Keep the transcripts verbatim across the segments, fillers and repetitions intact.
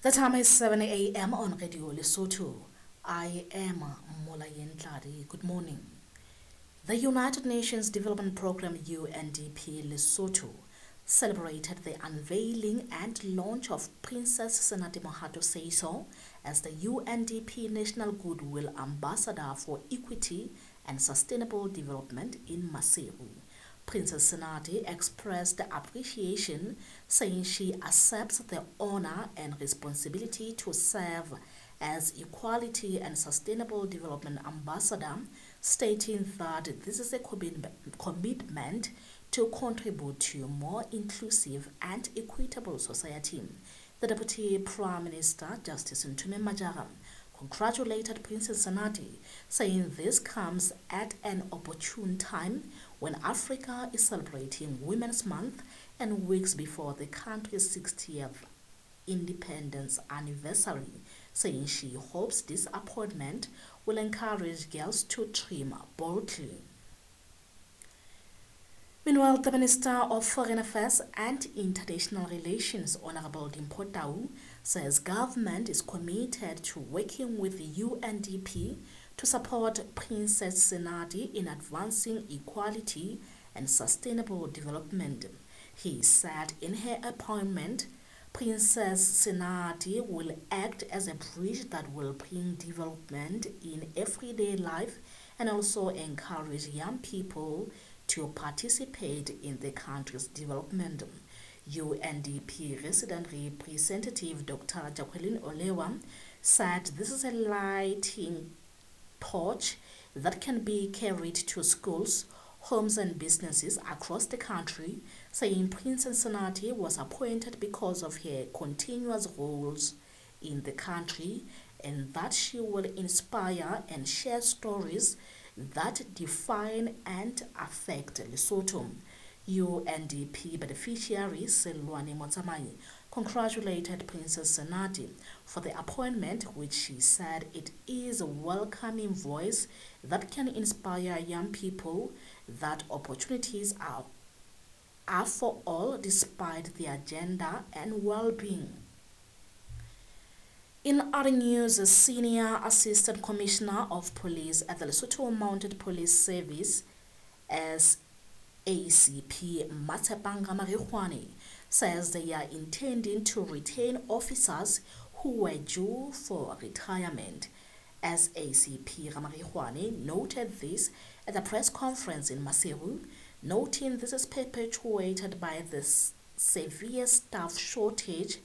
The time is seven A M on Radio Lesotho. I am Molayeng Tladi. Good morning. The United Nations Development Programme U N D P Lesotho celebrated the unveiling and launch of Princess Senate Mohato Seeiso as the U N D P National Goodwill Ambassador for Equity and Sustainable Development in Maseru. Princess Senate expressed appreciation, saying she accepts the honor and responsibility to serve as Equality and Sustainable Development Ambassador, stating that this is a commitment, commitment to contribute to a more inclusive and equitable society. The Deputy Prime Minister, Justice Ntume Majara, congratulated Princess Senate, saying this comes at an opportune time when Africa is celebrating Women's Month and weeks before the country's sixtieth independence anniversary, saying she hopes this appointment will encourage girls to dream boldly. Meanwhile, the Minister of Foreign Affairs and International Relations, Honorable Dimpho Tau, says government is committed to working with the U N D P to support Princess Senate in advancing equality and sustainable development. He said in her appointment, Princess Senate will act as a bridge that will bring development in everyday life and also encourage young people to participate in the country's development. U N D P resident representative Doctor Jacqueline Olewa said this is a lighting torch that can be carried to schools, homes and businesses across the country, saying Princess Senate was appointed because of her continuous roles in the country and that she will inspire and share stories that define and affect Lesotho. U N D P beneficiary Selwane Motsamai congratulated Princess Senate for the appointment, which she said it is a welcoming voice that can inspire young people that opportunities are, are for all despite their gender and well-being. In other news, a Senior Assistant Commissioner of Police at the Lesotho Mounted Police Service, S A C P Matsepang Ramarikgwane, says they are intending to retain officers who were due for retirement. S A C P Ramarikgwane noted this at a press conference in Maseru, noting this is perpetuated by the s-, severe staff shortage,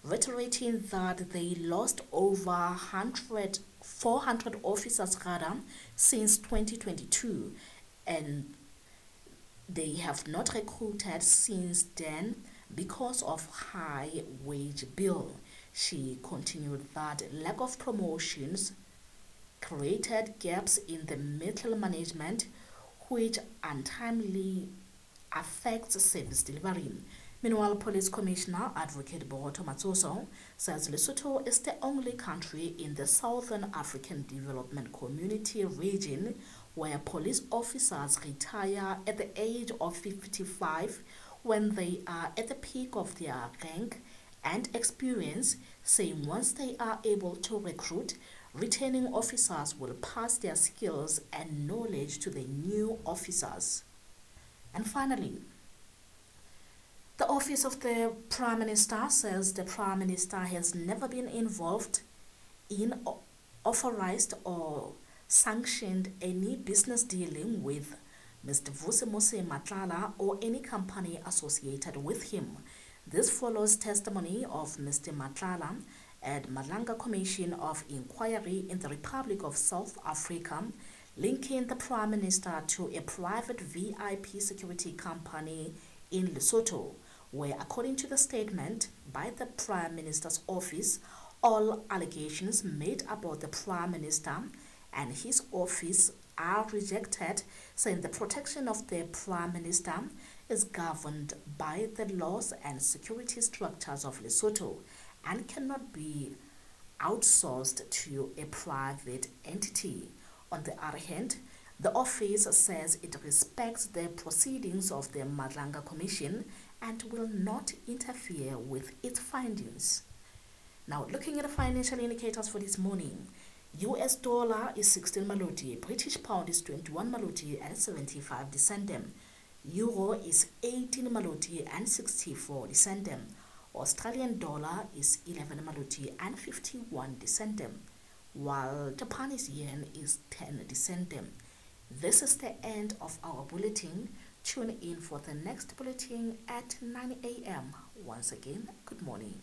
reiterating that they lost over hundred, four hundred officers rather since twenty twenty-two, and they have not recruited since then because of high wage bill. She continued that lack of promotions created gaps in the middle management, which untimely affects service delivery. Meanwhile, Police Commissioner Advocate Botho Matsoso says Lesotho is the only country in the Southern African Development Community region where police officers retire at the age of fifty-five when they are at the peak of their rank and experience, saying once they are able to recruit, retaining officers will pass their skills and knowledge to the new officers. And finally, the Office of the Prime Minister says the Prime Minister has never been involved in o-, authorized or sanctioned any business dealing with Mister Vusimuzi Matlala or any company associated with him. This follows testimony of Mister Matlala at Madlanga Commission of Inquiry in the Republic of South Africa, linking the Prime Minister to a private V I P security company in Lesotho, where, according to the statement by the Prime Minister's office, all allegations made about the Prime Minister and his office are rejected, saying the protection of the Prime Minister is governed by the laws and security structures of Lesotho and cannot be outsourced to a private entity. On the other hand, the office says it respects the proceedings of the Madlanga Commission and will not interfere with its findings. Now, looking at the financial indicators for this morning, U S dollar is sixteen maloti, British pound is twenty-one maloti and seventy-five centem, Euro is eighteen maloti and sixty-four centem, Australian dollar is eleven maloti and fifty-one centem, while Japanese yen is ten centem. This is the end of our bulletin. Tune in for the next bulletin at nine A M. Once again, good morning.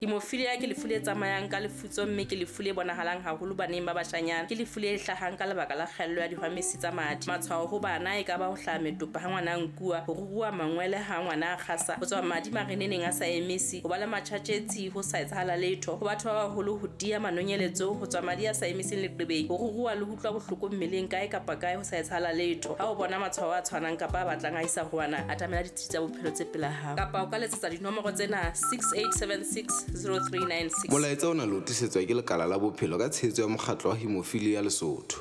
Hemophilia ke lefu le tsamayang ka lefutso mme ke lefu le bonahalang haholo baneng ba bashanyana. Ke lefu le hlahang ka lebaka la kgaello ya dihwamesi tsa madi. Matshwao ho bana e ka ba ho hlaha metopa ha ngwana a nkuwa, ho ruruha mangwele ha ngwana a kgasa, ho tswa madi mareneneng a sa emise, ho ba le matjhatjhetsi ho sa etsahala letho, ho batho ba baholo ho tiya manonyeletso, ho tswa madi a sa emiseng leqebeng, ho ruruha le ho utlwa bohloko mmeleng kae kapa kae ho sa etsahala letho. Ha o bona matshwao a tshwanang kapa a batlang a isa ho wena, atamela ditsi tsa bophelo tse pela hao. Kapa o ka letsetsa dinomoro tsena six eight seven six zero three nine six. Molaetsa ona le o tlisetswa ke lekala la bophelo ka tshehetso ya mokgatlo wa Hemophilia Lesotho.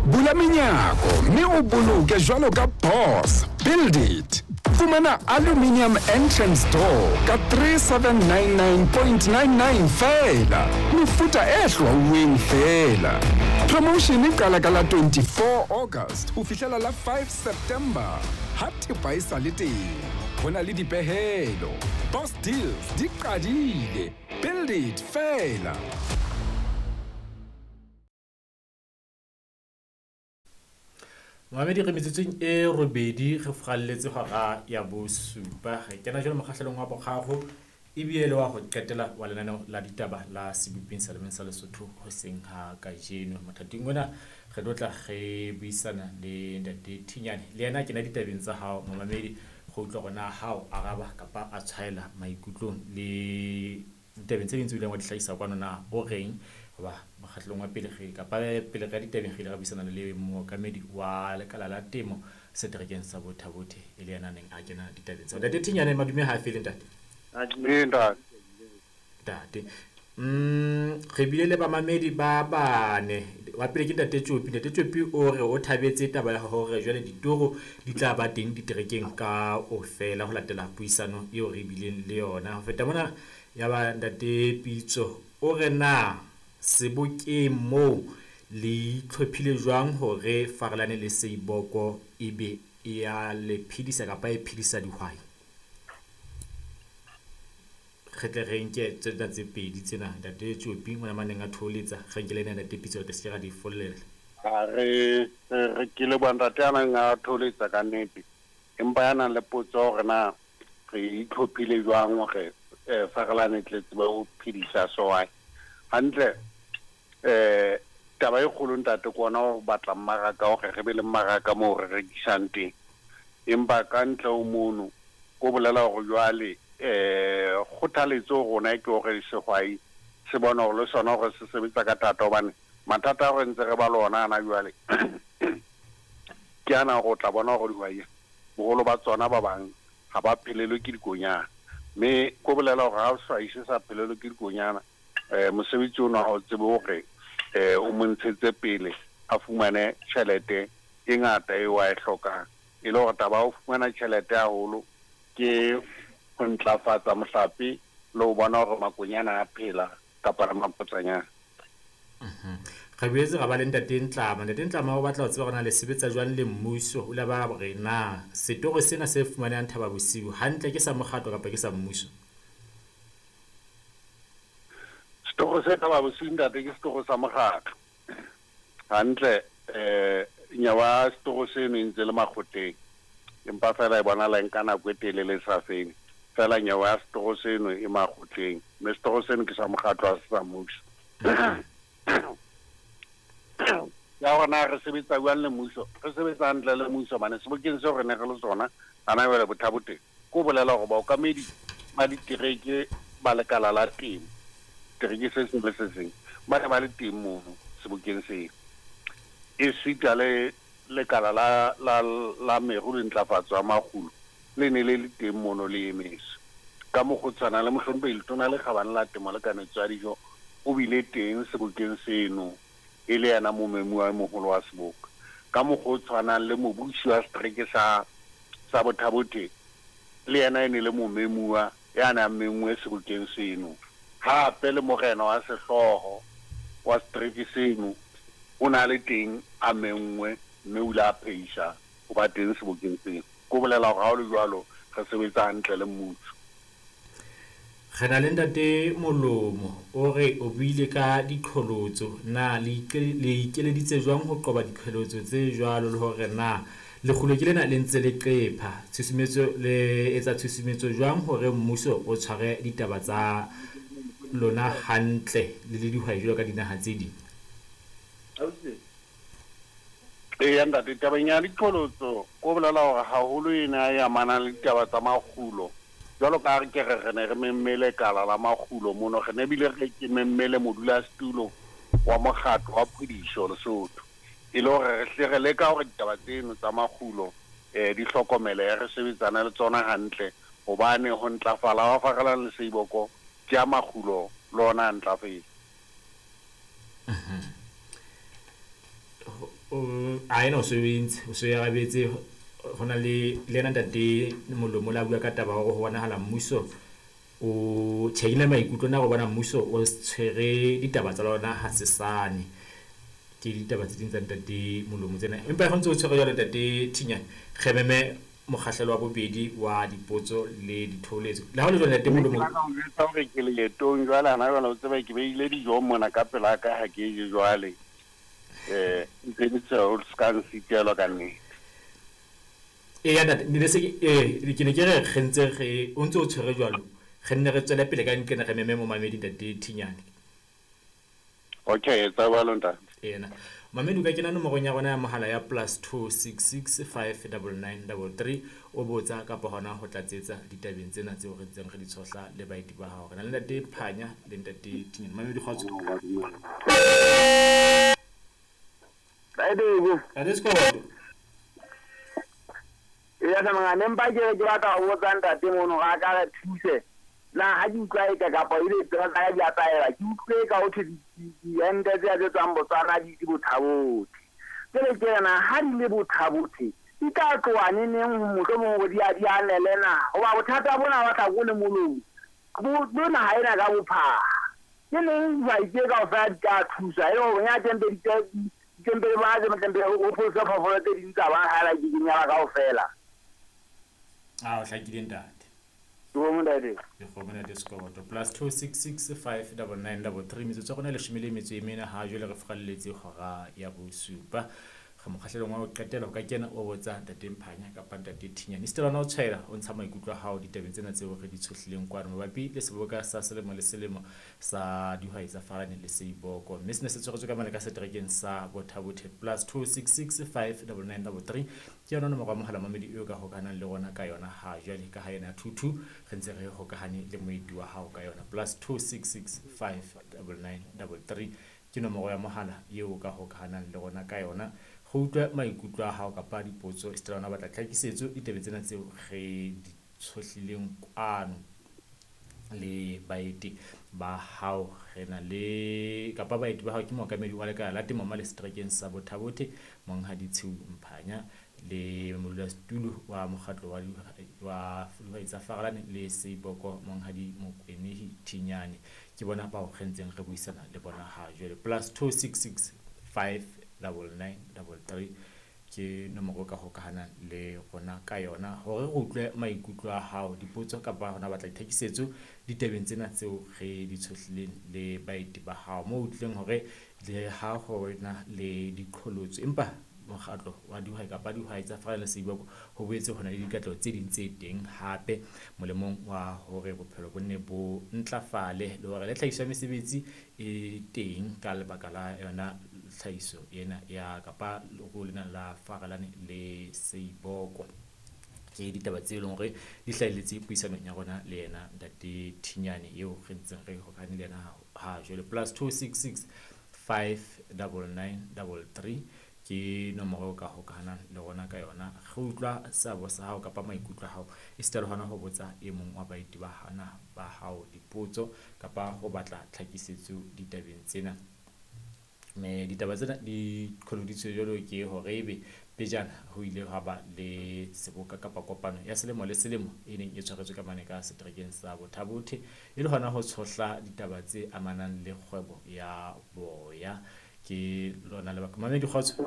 Bula menyako mme o boloke jwalo ka boss. Build it. Fumana aluminium entrance door ka three seven nine nine point nine nine feela. Mefuta e hlwauweng feela. Promotion e qala ka la twenty-four August ho fihlela la five September. Ha thepa e sa le teng, ho na le dipehelo. Boss deals di qadile. Build it feela. Mohamedi re metsotsong e robedi re furalletse hora ya bosupa. Re kena jwale mokgahlelong wa boraro ebile le wa ho qetela wa lenaneo la ditaba la Seboping sa Lemeng sa Lesotho hoseng ha kajeno. Mothating ona re tlo tla re buisana le Ntate Thinyane, le yena kena ditabeng tsa hao momamedi, go utlwa hore na ha o araba kapa a tshwaela maikutlong le ditabeng tse ding tse ileng wa di hlahisa kwano na o reng. Hoba mokgahlelong wa pele re kapa pele re ditabeng re ile ra buisana le mookamedi wa lekala la temo seterekeng sa Botha-Bothe e le yena a neng a kena ditabeng tsa. Ntate Thinyane, madume ha a fele ntate. Ntate. Ntate. Mm, re bile le bamamedi ba bane. Wa pele ke Ntate Tjopi. Ntate Tjopi o re o thabetse taba ya hore jwale ditoro di tla ba teng diterekeng ka ofela ho latela puisano eo re bileng le yona. Ho feta mona ya ba Ntate Pitso o re na sebokeng moo le itlhophile jwang hore Farelane le Seiboko ebe e ya le phedisa kapa e phedisa dihwai. Re tle re nke tsena tse pedi tsena Ntate Tjopi ngwana maneng a tholetsa, re nke le ena Ntate Pitso re se ra di follela. A re re ke le bo ntate a nang a tholetsa ka nnete, empa ya nang le potso hore na re itlhophile jwang hore Farelane tle tsebe ho phedisa sehwai hantle. Eh taba e kgolo ntate ke ona ho batla mmaraka hore re be le mmaraka moo re rekisang teng, empa ka ntle ho mono ko bolela hore jwale eh kgothaletso rona ke hore sehwai se bone hore le sona hore se sebetsa ka thata, hobane mathata a re ntse re ba le ona ana jwale ke ana hore o tla bona hore dihwai boholo ba tsona ba bang ha ba phelelwe ke dikonyana, mme ko bolela hore ha sehwai se sa phelelwe ke dikonyana eh mosebetsi ona ha o tsebe hore eh o mo ntshetse pele a fumane tjhelete e ngata eo a e hlokang. E le hore taba ya ho fumana tjhelete haholo ke ho ntlafatsa mohlape le ho bona hore makonyana a phela kapa mapotsanyana. Re boetse ra ba le Ntate Ntlama. Ntate Ntlama o batla ho tseba hore na le sebetsa jwang le mmuso, o la ba hore na setoro sena se fumanehang Thaba Bosiu hantle ke sa mokgatlo kapa ke sa mmuso? Setoro se Thaba Bosiu ntate ke setoro sa mokgatlo hantle. Eh nyawa setoro seno e ntse le makgotleng, empa fela e bonahala e nka nako e telele e sa fele. Fela nyawa ya setoro seno e makgotleng, mme setoro seno ke sa mokgatlo ha se sa mmuso. Ya hore na re sebetsa jwang le mmuso, re sebetsa hantle le mmuso hobane sebokeng seo re ne re le sona hana jwale Botha-Bothe, ko bolela hore baokamedi ba ditereke ba lekala la temo, tereke se seng le se seng ba ne ba le teng mono sebokeng seo. E sita le lekala la la la meru le ntlafatso ya makgulo le ne le le teng mono le emetse. Ka mokgwa o tshwanang le mohlomphehi Letona le Kgabane la Temo le Kanetso ya Dijo o bile teng sebokeng seno e le yena momemuwa e moholo wa seboka. Ka mokgwa o tshwanang le mobusi wa setereke sa sa Botha-Bothe le yena e ne le momemuwa ya nang menngwe sebokeng seno. Hape le morena wa sehlooho wa setereke seno o na le teng a menngwe, mme o ile a pheisa ho ba teng sebokeng seno. Ko bolela hore ha o le jwalo re sebetsa hantle le mmuso. Re na le ntate Molomo o re o buile ka diqholotso, na le ikeleditse jwang ho qoba diqholotso tse jwalo, le hore na lekgulo ke lena le ntse le qepha tshusumetso, le etsa tshusumetso jwang hore mmuso o tshware ditaba tsa lona hantle le le dihwai jwalo ka dinaha tse ding? Eya ntate, tabeng ya diqholotso ko bolela hore haholo ena e amanang le ditaba tsa makgulo. Jwalo ka ha re ke re re ne re memme lekala la makgulo mono, re ne bile re ke memme le modulasetulo wa mokgatlo wa phediso Lesotho, e le hore re hle re leka hore ditaba tseno tsa makgulo um di hlokomele, re sebetsane le tsona hantle, hobane ho ntlafala wa Farelane le Seiboko ke ya makgulo le ona a ntlafetse. A ena o se o entse, o se o arabetse. Ho na le le yena ntate Molomo la bua ka taba hore ho bonahala mmuso o tjhehile maikutlo na go bona mmuso o tshwere ditaba tsa lona ha sesane. Ke ditaba tse ding tsa ntate Molomo tsena, empa ho ntse o tshwere jwalo ntate Thinyane, re meme mokgahlelo wa bobedi wa dipotso le ditholetso. Le ha ho le jwalo ntate Molomo, ke hore ke leetong jwale hana jwale, o tseba ke beile dijo mona ka pela ka ha ke je jwale. Eh ntse ke tse o ska nsitelwa ka nnete. Eya ntate, ne se eh ke ne ke re re ntse re o ntse o tshwere jwalo, re nne re tswele pele ka nqena re meme momamedi ntate Thinyane. Okay, tsa jwalo ntate. Ena mamedi o ka kena nomorong ya rona ya mohala ya plus two six six five nine nine three three o botsa kapa hona ho tlatsetsa ditabeng tsena tseo re ntseng re di tshohla le baeti ba hao. Re na le ntate Phanya le ntate Thinyane. Mamedi kgotso. Ntate Sekoto. Ya sa ne mpa ke ke batla ho botsa ntate mono ga ka re thuse. Na ha ke utlwa eka kapa ile tsela tsa di ataela, ke utlwe ka ho thwe diente tse tse tswang Botswana di di Botha-Bothe. Jwale ke re na ha di le Botha-Bothe di tla tloha neneng mohlomong hore di a di anele na? Hoba bothata bona ba tla ko le molomo bo bo naha ena ka bophara. Ke neng dihwai tse kaofela di tla thusa e le hore ya teng di teng ba tse teng ho pholosa phoofolo tse ding tsa ba hala ke kenyana kaofela. A o hlakile ntate. Dikgomo ntate. Dikgomo ntate Sekoto. Plus two six six five nine nine three three metsotso ya rona e leshome le metso e mene ha jwale re furalletse hora ya bosupa. Re mokgahlelong wa ho qetela, o ka kena o botsa ntate Mphanya kapa ntate Thinyane. Esita le hona o tshwaela o ntsha maikutlo a hao ditabeng tsena tseo re di tshohlileng kwano mabapi le seboka sa selemo le selemo sa dihwai tsa Farelane le Seiboko, mme sena se tshwaretswe ka mane ka seterekeng sa Botha-Bothe. Plus two six six five nine nine three three ke yona nomoro ya mohala mamedi eo ka hokahanang le rona ka yona ha jwale, ka ha yona two two re ntse re hokahane le moeti wa hao ka yona. Plus two six six five nine nine three three ke nomoro ya mohala eo ka hokahanang le rona ka yona. Go utlwa maikutlo a hao kapa dipotso, esita le hona batla tlhakisetso ditabeng tsena tseo re di tshohlileng kwano le baeti ba hao. Re na le kapa baeti ba hao ke mookamedi wa lekala la temo mane seterekeng sa Botha-Bothe Monghadi Tshiu Mphanya le modulasetulo wa mokgatlo wa wa dihwai tsa Farelane le Seiboko Monghadi Mokwenehi Thinyane. Ke bona bao re ntseng re buisana le bona ha jwale. Plus two six six five nine nine three three ke nomoro ka hokahanang le rona ka yona hore re utlwe maikutlo a hao, dipotso kapa hona batla ditlhakisetso ditabeng tsena tseo re di tshohlileng le baeti ba hao, moo utlwileng hore le ha ho na le diqholotso empa mokgatlo wa dihwai kapa dihwai tsa Farelane le Seiboko ho boetse ho na le dikatleho tse ding tse teng hape molemong wa hore bophelo bo nne bo ntlafale le hore le tlhahiso ya mesebetsi e teng ka lebaka la yona tlhahiso ena ya kapa leruo lena la Farelane le Seiboko. Ke ditaba tse leng hore di hlahelletse puisanong ya rona le yena ntate Thinyane eo re ntseng re hokahane le yena ha jwale. Plus two six six five nine nine three three ke nomoro ka hokahanang le rona ka yona. Re utlwa seabo sa hao kapa maikutlo a hao, esita le hona ho botsa e mong wa baeti ba hana ba hao dipotso kapa ho batla tlhakisetso ditabeng tsena. Me ditaba tsena di qholoditswe jwalo ke hore ebe pejana ho ile ha ba le seboka kapa kopano ya selemo le selemo e neng e tshwaretswe ka mane ka seterekeng sa Bothabothe e le hona ho tshohla ditaba tse amanang le kgwebo ya boya. Ke lona lebaka. Mamedi kgotso.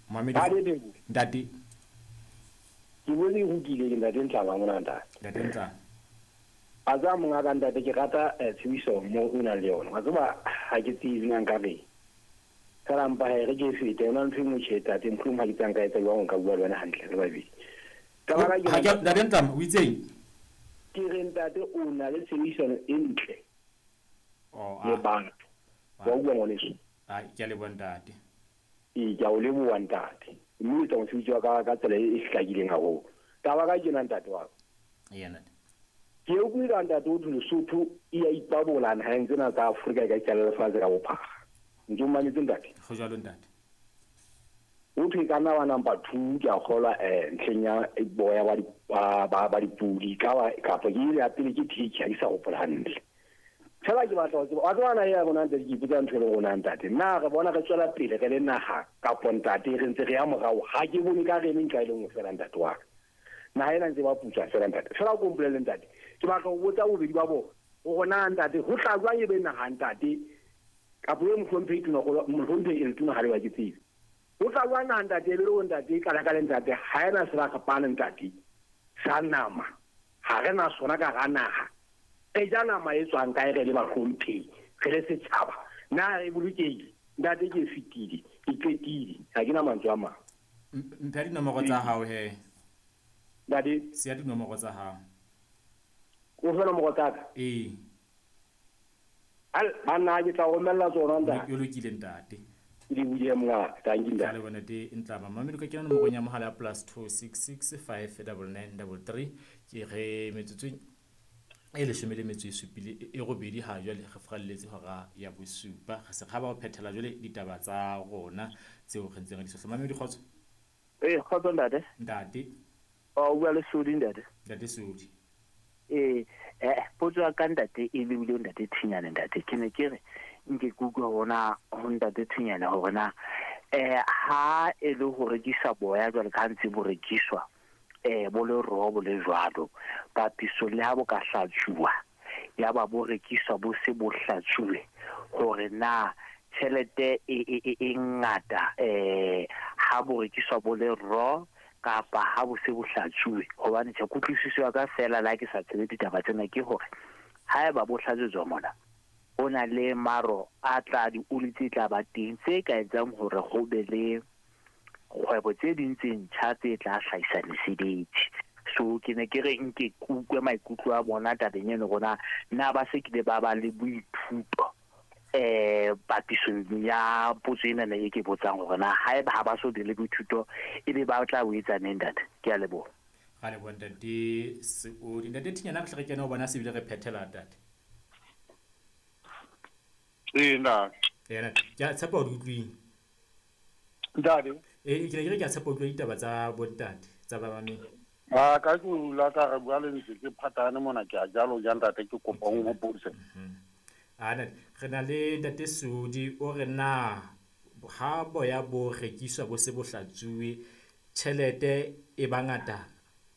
Mamedi ntate. Ke bone ho kile ke ntate Ntlama mona ntate. Ntate Ntlama. A tsa monga ka ntate ke rata tshebiso mo o nang le yona. Wa tseba ha ke tsebe nna nka reng. Fela mpa he re ke fete yona ntho e nngwe tjhe tate mohlomong ha ke tsang ka etsa jwang nka bua le wena hantle re babedi. Ka baka ke Ha ke ntate Ntlama o itseng? Ke re ntate o na le tshebedisano e ntle. Oh, le batho. Wa utlwa ngwaneso? Ah, ke a leboha ntate. Ee, ke a o leboha ntate. Mme o etsa mosebetsi wa ka ka tsela e hlakileng haholo. Taba ka tjena ntate wa ka. Eya ntate. Ke utlwile ntate o thwe Lesotho e a ipabola naheng tsena tsa Afrika ka itjalla lefatshe ka bophara. Ntse o mametse ntate? Ho jwalo ntate. O thwe ka nna wa number two ke a kgolwa eh ntlheng ya boya ba di ba ba dipudi ka ba kapa ke ile ya pele ke teacher ke sa hopola hantle. Fela ke batla ho tseba wa tseba na ya rona ntate ke ipotsa ntho e le rona ntate. Nna re bona re tswela pele re le naha kapo ntate re ntse re ya morao ha ke bone ka re eme nka e le nngwe fela ntate wa ka. Naha ena ntse ba putswa fela ntate. Fela o ko mpolelle ntate. Ke batla ho botsa bobedi ba bona hore na ntate ho tla jwang ebe naha ntate kapo e mohlomphehi tona mohlomphehi e letona ha le ba ke tsebe. Ho tla jwang naha ntate e be le hore ntate e qala ka le ntate ha ena sebaka ntate sa nama ha re na sona ka hara naha. E ja nama e tswang kae re le bahlomphehi re le setjhaba na e bolokehile ntate ke fetile ke qetile ha ke na mantswe a mang. Mpha dinomoro tsa hao he. Ntate siya dinomoro tsa hao. O fe nomoro tsa ka? Ee. Al banna ke tla romella tsona ntate. O lokile ntate. Ke di buile monga thank you ntate. Le bona te Ntlama mamedi ka kena nomorong ya mohala ya plus two six six five nine nine three three ke re metsotsong e leshome le metso e supile e robedi ha jwale re fralletse hora ya bosupa re se kgaba ho phethela jwale ditaba tsa rona tseo re ntseng re di sohla. Mamedi kgotso. Eh kgotso ntate. Ntate. O bua le Sodi ntate. Ntate Sodi. Eh eh potso ya ka ntate e lebile ntate Thinyane ntate ke ne ke re nke ke utlwa hona ho ntate Thinyane hore na eh ha e le ho rekisa boya jwale ka ntse bo rekiswa eh bo le robo le jwalo papiso le ha bo ka hlatsuwa ya ba bo rekiswa bo se bo hlatsuwe hore na tjhelete e e e ngata eh ha bo rekiswa bo le ro kapa ha bo se bo hlatsuwe hobane tjhe kutlwisiso ya ka fela la ke sa tsebe ditaba tsena ke hore haeba bo hlatswetswa mona ho na le maro a tla di oli tse tla ba teng tse ka etsang hore ho be le kgwebo tse ding tse ntjha tse tla hlahisa mesebetsi. So ke ne ke re nke kutlwe maikutlo a bona tabeng eno rona na ba se kile ba ba le boithuto eh papisong ya potso ena e ke botsang hore na haeba ha ba so be le boithuto ebe ba tla o etsa neng ntate. Ke a leboha. Ga leboha ntate Seodi. Ntate Thinyana re tle re kene ho bona se bile re phethela ntate. Ee ntate. Ee ke a tshepa o di utlwile. Ntate. Eh ke ne ke re ke a tshepa o utlwa ditaba tsa bontate tsa ba mamedi. A ka ke la ka re bua le ntse ke phatane mona ke a jalo ja ntate ke kopa o nhopotse. A ntate re na le ntate Sodi o re na ha boya bo rekiswa bo se bo hlatsuwe tjhelete e bangata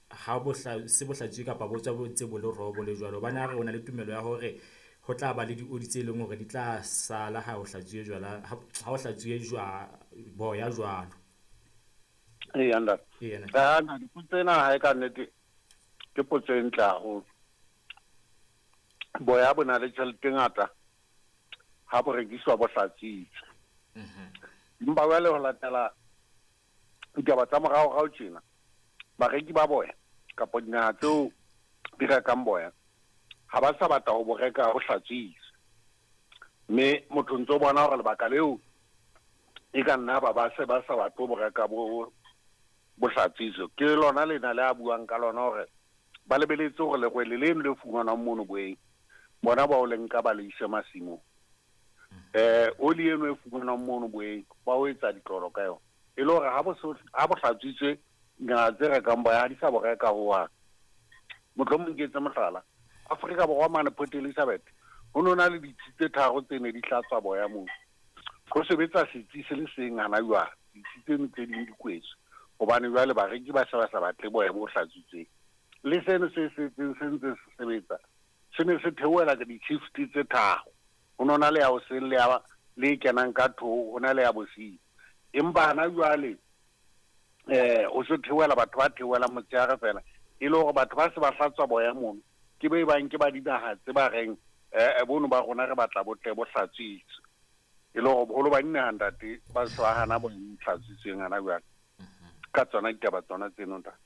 ha bo se bo hlatsuwe kapa bo tswa bo ntse bo le robo le jwalo bana re o na le tumelo ya hore ho tla ba le dioli tse leng hore di tla sala ha o hlatsuwe jwala ha o hlatsuwe jwa boya jwalo. Ee ntate. Ee ntate. Ah ntate potso ena ha e ka nnete ke potso e ntle haholo. Boya bo na le tjhelete e ngata ha bo rekiswa bo hlatsitswe. Empa jwale ho latela ditaba tsa moraorao tjena bareki ba boya kapa dinaha tseo di rekang boya ha ba sa batla ho bo reka ho hlatsitswe. Mme motho ntso bona hore lebaka leo e ka nna ba ba se ba sa batle ho bo reka bo bo hlatsitswe. Ke lona lena le a buang ka lona hore ba lebeletse hore lerwele leno le fumanwang mono boeng bona ba o le nka ba le ise masimong. Eh oli eno e fumanwang mono boeng ba o etsa ditlolo ka yona. E le hore ha bo ha bo hlatsitswe dinaha tse rekang boya ha di sa bo reka hohang. Mohlomong ke etse mohlala Afrika Borwa mane Port Elizabeth Ho no na le ditsi tse tharo tse ne di hlatswa boya moo. Ho sebetsa setsi se le seng hana jwale, ditsi tseno tse ding di kwetswe hobane jwale bareki ba se ba sa batle boya bo hlatswitsweng. Le seno se setseng se ntse se sebetsa se ne se theohela ka di-shift tse tharo. Ho no na le ya hoseng le ya le kenang ka two, ho na le ya bosiu. Empa hana jwale eh o se theohela batho ba theohela motshehare fela, e le hore batho ba se ba hlatswa boya mono ke be bang ke ba dinaha tse ba reng eh bono ba rona re batla botle bo hlatswitswe. E le hore boholo ba dinaha ntate ba se ba hana bo hlatswitsweng hana jwale ka tsona ditaba tsona tseno ntate.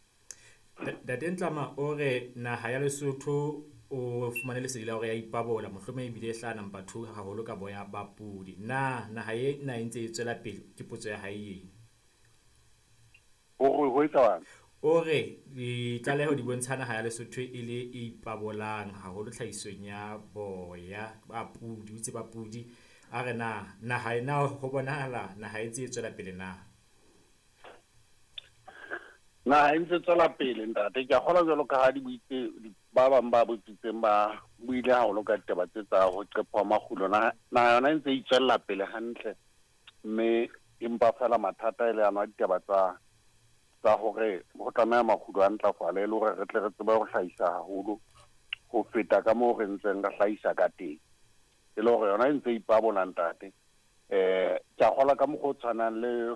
Ntate Ntlama o re naha ya Lesotho o fumane lesedi la hore ya ipabola, mohlomong ebile e hlaha number two haholo ka boya ba pudi. Na naha e na e ntse e tswela pele? Ke potso ya hae eno. Hore ho etsahalang? O re ditlaleho di bontsha naha ya Lesotho e le e ipabolang haholo tlhahisong ya boya ba pudi, o itse ba pudi. A re na naha e na ho bonahala naha e ntse e tswela pele na? Naha e ntse tswela pele ntate. Ke a kgolwa jwalo ka ha di buitse ba bang ba botsitseng ba buile haholo ka ditaba tse tsa ho qepha makgulo. Naha yona e ntse e itswella pele hantle, mme empa fela mathata e le ano a ditaba tsa tsa hore ho tlameha makgulo a ntlafale e le hore re tle re tsebe ho hlahisa haholo ho feta ka moo re ntseng re hlahisa ka teng. E le hore yona e ntse ipabola ntate. Eh ke a kgolwa ka mokgwa o tshwanang le